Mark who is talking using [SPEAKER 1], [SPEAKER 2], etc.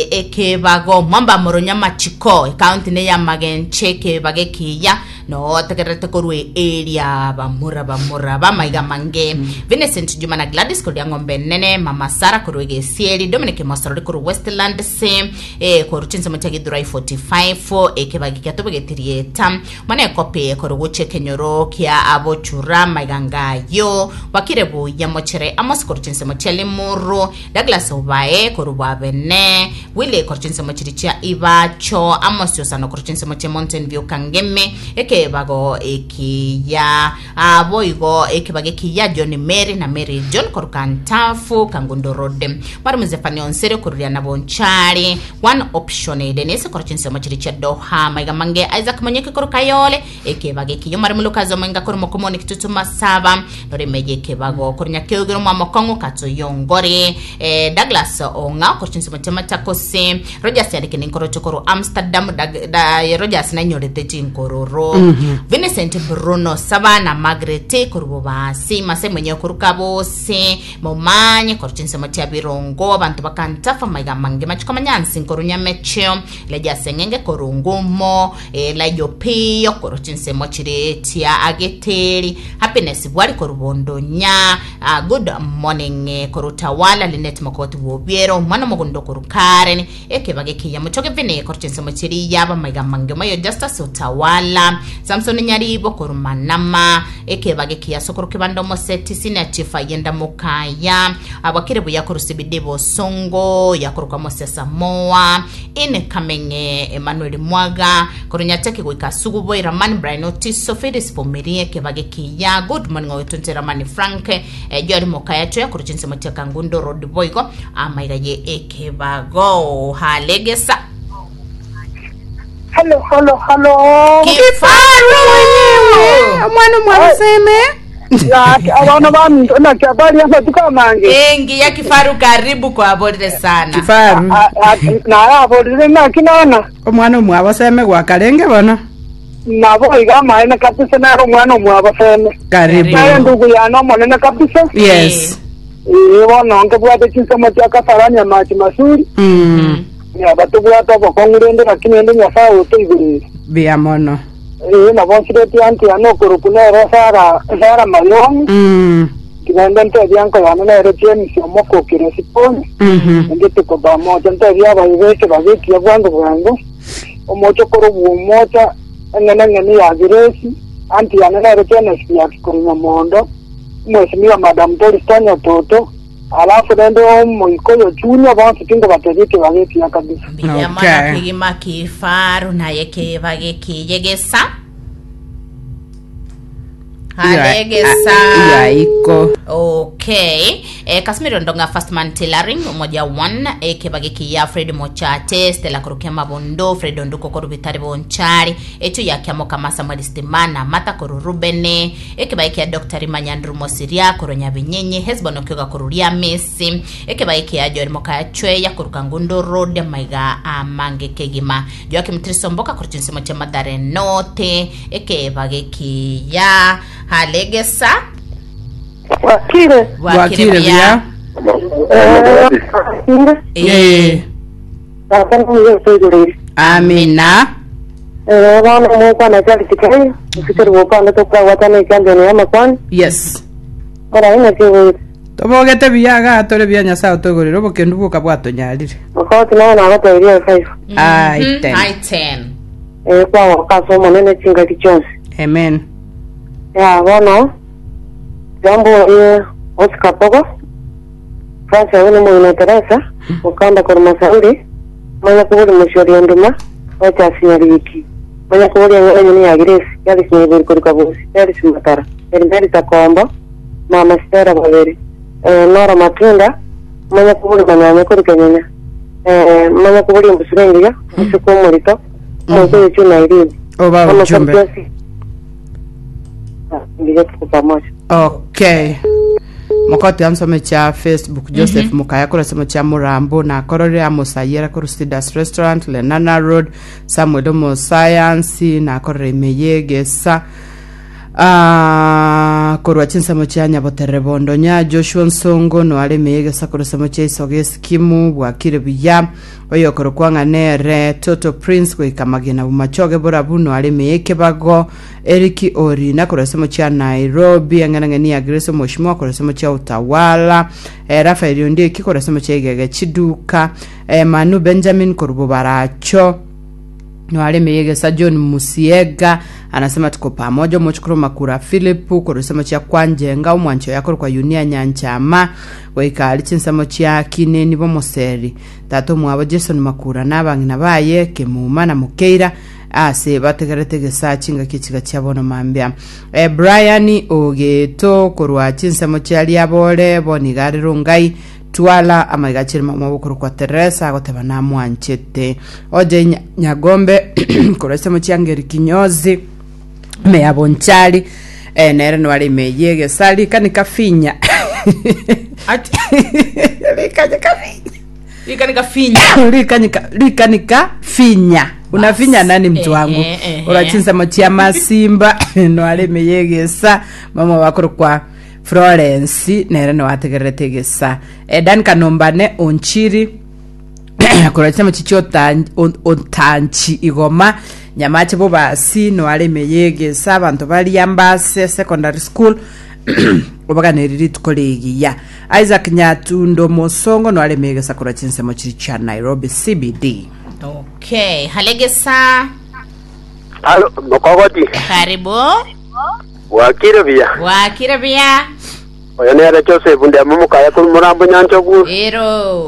[SPEAKER 1] Ekebago mwamba moronya amachiko ekaunti ne ya magenche ekebago ekiya notegererete korwa eria bamura bamura bamaiga mange Vincent Juma na Gladys korwa ng'ombe nene Mama Sara korwa egesieri Dominic Mosorori korwa Westland C eh, korwa chinsemo chia Githurai 45 ekebago kiatobegetirie eta mwana ekopi korwa gochia ekenyoro kia abochura maiga ngayo wakire buya mochere Amos korwa chinsemo chia Limuru Douglas Obae korwa Bwabene, Willy korwa chinsemo chiria chia Ibacho, Amos Osano korwa chinsemo chia Mountain View Kangemi, ekebago ekiya ah, boigo ekebago ekiya John Mary na Mary John korwa Kantafu Kangundo Road, Mwalimu Zephania Onsere korwa Riana Bonchari, One Option Denise korwa chinsemo chiria chia Doha, Maiga Mange Isaac Monyeke korwa Kayole, Ekebago ekiya omare molokazi omoinga korwa mokomoni kitutu masaba noremeye ekebago korwa nyakeogero mwa mokong'u katoyongore eh, Douglas Ong'a korwa chinsemo chia Machakos Rogers yareke ninkoroche korwa Amsterdam Dag, da, Rogers nainyorete chinkororo Vincent Bruno Saba na Margaret korwa Bobasi Masai mwenyewe korwa Kabosi Momanye korwa chinsemo chia Birongo abanto bakantafa maiga mange machiko manyansi nkorwa Nyamecheo Leja Seng'enge korwa Ngumo Elijah Opiyo korwa chinsemo chire chia Ageteri, Happiness Bwari korwa Bondonya, ah, good morning eh, korwa Utawala, Linet Mokoti bw'Obiero, omwana omogondo korwa Karen, ekebaga ekiya mochoge Vini korwa chinsemo chiria abamaiga amange omoyo Justus Utawala, Samson Nyaribo korwa Manama, ekebaga ekiya Sokoro Kibanda Omoseti, Senior Chief Ayenda Mokaya, abwakire buya korwa CBD Bosongo, yakorokwa Mose Samoa, Incoming Emmanuel Mwaga korwa Nyateke goika Sugubo Eramani Brian Otiso Phyllis Vumilie Kebage Kiya Good morning Ogetunte Ramani Frank eh, Joel Mokaya Choya korwa chinsemo chia Kangundo Road boigo amaiga ye ekebago halegesa
[SPEAKER 2] Halo, halo, halo.
[SPEAKER 1] Kifaru
[SPEAKER 3] mwenyewe omwana omwabiseme
[SPEAKER 2] Laki, abana baminto naki abali amatuko amange.
[SPEAKER 1] engi ya kifaru karibu kwaborire sana
[SPEAKER 3] kifaru
[SPEAKER 2] Naye aborire naki nana.
[SPEAKER 3] omwana omwaboseme gwakarenge bono
[SPEAKER 2] Nabo iga amaene kabisa nere omwana omwaboseme.
[SPEAKER 3] karibu
[SPEAKER 2] Naye ndugu yane omonene kabisa.
[SPEAKER 3] yes
[SPEAKER 2] Ee bono nkebwate chinsemo chia Kasarani amachi masuri.
[SPEAKER 3] Mm.
[SPEAKER 2] Yaba tobwate obokong'u rende lakini rende Nyasaye otoigorire.
[SPEAKER 3] buya mono
[SPEAKER 2] Ee, nabo nsiretie anti yane okorokwa nere Sara, Sara Mayongi,
[SPEAKER 3] Mm.
[SPEAKER 2] tigende ntebie anko yane nere James omokokire Siponi,
[SPEAKER 3] Mhm.
[SPEAKER 2] ende tukoba mocha ntebie abaibeke babekia bwango bwango, omocha okorobwa omocha, eng'ene eng'ene ya Grace, anti yane nere Kenneth Biaki korwa Nyamondo, omwesimigwa Madam Doris Tanya Toto, alafu rende omoikoyo Junior bonsi tingobatebia ekebago ekiya kabisa.
[SPEAKER 1] Mbuya
[SPEAKER 3] Okay.
[SPEAKER 1] mono kegima kifaru naye kebage kiyegesa halegesa
[SPEAKER 3] yaiko
[SPEAKER 1] Okay. Eh, Casimiro Ndonga First Man Tailoring umoja one eh, kebage kiya Fred Mochate Stella Kurukia Mabondo Fred Onduko koru Bitari Bonchari echo ya Kiamo Kama Samuel Stimana Mata koru Rubene ekebae kia Dr. Manyandru Mosiria koru Nyabinyenye Hesbon Okyoga koru Riamesi ekebae kia Joel Mokaya Chweya koru Kangundo Road maiga amange kegima Joakim Trisomboka koru chinsemo chia Mathare North ekebage kiya Halegesa
[SPEAKER 2] Wakire.
[SPEAKER 3] bwakire buya
[SPEAKER 1] Eh.
[SPEAKER 2] Tata niye otoigorire.
[SPEAKER 3] amina
[SPEAKER 2] Eh, bono omokwana Charles Kenya, ofikiri gokwana tokwagwatana echampion ya amakwani,
[SPEAKER 3] yes
[SPEAKER 2] ora inaki ogoire.
[SPEAKER 3] tobogete buya iga tore buya nyasaye otoigorere obokendu bwoka bwatonyarire
[SPEAKER 2] Okoti naye nagotebirie efive.
[SPEAKER 3] Ai,
[SPEAKER 1] Mhm,
[SPEAKER 3] ten.
[SPEAKER 1] ai, ten.
[SPEAKER 2] Eh, kwagoka ase omonene chingaki chionsi.
[SPEAKER 3] amen
[SPEAKER 2] Ya bono, jambo orie Oscar Pogo, Francis abwo nomogina Teresa, Mukanda korwa Masauri, manya kobori Mosiori Onduma, Rochas Nyariki, manya kobori eng'ana enyene ya Grace, Charles Nyaibori korwa Kabusi, Charles Matara, Mary Takombo, Mama Stella Babere, eh, Nora Matunda, manya kobori Manyanya korwa Kenyenya, eh, manya kobori Embusuro Engiya, Omoiseke Omorito, Omoikoyo Chuna Irene,
[SPEAKER 3] oba
[SPEAKER 2] Bono
[SPEAKER 3] ujumbe
[SPEAKER 2] Kapiosi. Mbuya tuko pamoja.
[SPEAKER 3] okay mokoti ansome cha facebook joseph mukaya korwa semo cha murambo nakorore amosayera korwa cedars restaurant lenana road samuel omosayansi nakorore ime yegesa. Ah, korwa chinsemo chia nyaboterere bondonya joshua nsongo noaremeye egesakoro semo chia isoga esikimu bwakire buya oyokorokwa ng'a nere toto prince goika magena bumachoge borabu noaremeye ekebago eriki orina korwa semo chia nairobi eng'enang'eni ya grace omoshimo korwa semo chia utawala eh, rafael ondieki korwa semo chia igege chiduka eh, manu benjamin korwa bobaracho Noaremeye gesa John Musiega anasema tuko pamoja omochukuru Makura Philip korwa ensemo chia Kwanjenga omwancho oye akorokwa Yunia Nyanchama goika aria chinsemo chia Kineni Bomoseri tata omwabo Jason Makura na abang'ina baye Kemuma na Mokeira ase bategerete egesaa chingaki echiga chia bono mambia eh, Brian Ogeto korwa chinsemo chia Riabore bono iga are Rongai Twala amaiga achire mama obokorokwa Teresa agoteba namwanchete. Oje Nyagombe korwa ensemo chia Ngeri Kinyozi ime ya Bonchari eh, nere nware ime yegesa rikanika finya
[SPEAKER 1] Ati
[SPEAKER 3] rikanika finya
[SPEAKER 1] rikanika finya.
[SPEAKER 3] rikanika rikanika finya unafinya nani mtu wangu
[SPEAKER 1] Ehe, ehe.
[SPEAKER 3] ora chinsemo chia masimba nware ime yegesa mama bakorokwa Florence nere noategererete egesa eh, Dan Kanombane Onchiri korwa chinsemo chichia Otanchi Igoma Nyamache Bobasi noare ime yegesa abanto baria Mbase Secondary School obaganeri rituko rigiya Isaac Nyatundo Mosongo noare ime yegesa korwa chinsemo chiri chia Nairobi CBD.
[SPEAKER 1] Okay, halegesa.
[SPEAKER 4] Alo, mokogoti.
[SPEAKER 1] Karibu.
[SPEAKER 4] Bwakire buya.
[SPEAKER 1] Bwakire buya.
[SPEAKER 4] Oyo nere Joseph ndiamo mokaya korwa Morambo Nyanchogu.
[SPEAKER 1] Ero.